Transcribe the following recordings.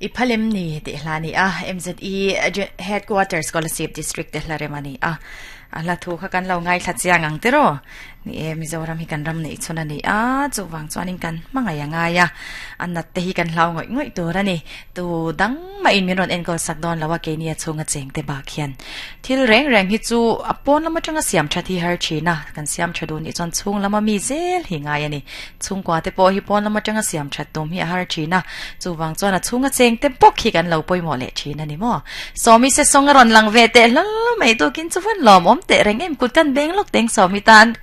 I phalem ni tih hla a ni a, MZE Headquarters Kolasib District te hla rem a ni a. A hla thu kha kan lo ngaithla chiang ang tiraw? Ni e, Mizoram hi kan ram neih chhun a ni a, chuvang chuanin kan hmangaih a ngai a, a nat te hi kan hlau ngawih ngawih tur a ni. Tu dang mahin min rawn enkawl sak dawn lo a, keini a chhunga cheng te bak hian thil reng reng hi chu a pawn lam atanga siam that hi har thin a, kan siam tha duh nih chuan chhung lama mi zel hi ngai a ni. Chhungkua te pawh hi pawn lam atanga siam that tum hi a har thin a, chuvang chuan a chhunga cheng te bawk hi kan lo pawimawh leh thin a ni maw? Sawmi se sawng a rawn lang ve teh hlal mai tukin chu van lawm awm teh reng em kut kan beng lawk teng Sawmi tan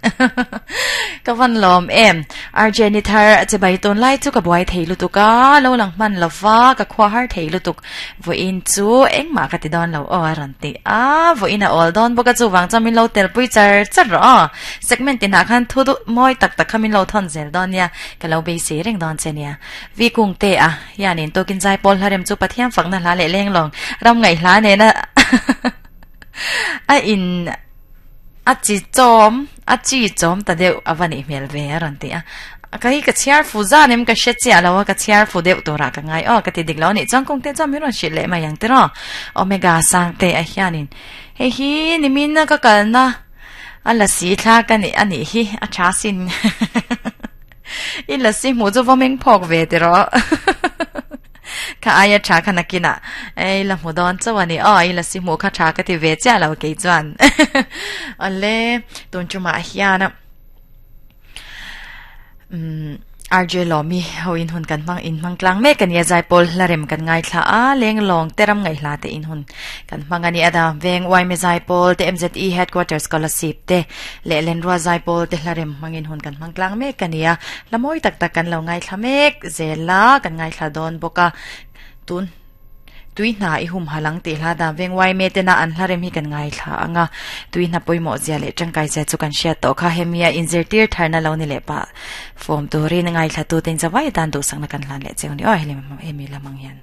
ka van lawm em. RJ ni thar che bai tawn lai chu ka buai thei lutuk a, lo lang hman lo va ka khua har thei lutuk. Vawiin chu engmah ka ti dawn lo aw a rawn ti a, vawiin a awl dawn bawk a chuvang chuan min lo telpui char char rawh aw. Segment tinah khan thu duh mawi tak tak kha min lo thawn zel dawn nia, ka lo beisei reng dawn che nia. Vi kung te a, hianin tukin zai pawl hla rem chu Pathian fakna hla leh leng lawng ram ngaih hla nena a in a chi chawm a chi chawm ta deuh a va nih hmel ve a rawn ti a. Ka hi ka chhiar fu zan em ka hre chiah lo a, ka chhiar fu deuh turah ka ngai aw ka ti dik lo a nih chuan kung te chuan min rawn hrilh leh mai ang tiraw. Omega sang te a hianin hei hi nimin a ka kalna A lasi thla ka nih a nih hi a tha sin. I lasi hmuh chu vawmeng phawk ve ti rawh. Kha aia tha kha nakinah ei la hmu dawn chauh a ni. Aw i lasi hmuh kha tha ka ti ve chiah lo kei chuan. Awle tun tumah hian Umm RJ Lawmi ho in hun kan hmang in hmang tlang mek a ni a zaipawl hla rem kan ngaithla a leng lawng te ram ngaihhla te in hun kan hmang a ni a da veng YMA zaipawl te MZE headquarters scholarship te leh lenrua zaipawl te hla rem hmang in hun kan hmang tlang mek a ni a hla mawi tak tak kan lo ngaithla mek zel a kan ngaithla dawn bawk a tun Tui hna i humhalh ang tih hla dan veng YMA tena an hla rem hi kan ngaithla ang a, tui hna pawimawh zia leh tangkai zia chu kan hriat tawh kha hemi a inzirtir tharna lo ni leh pah form turin ngaithla tuten zawai atan duhsakna kan hlan leh cheu ni aw hemi lamang hian.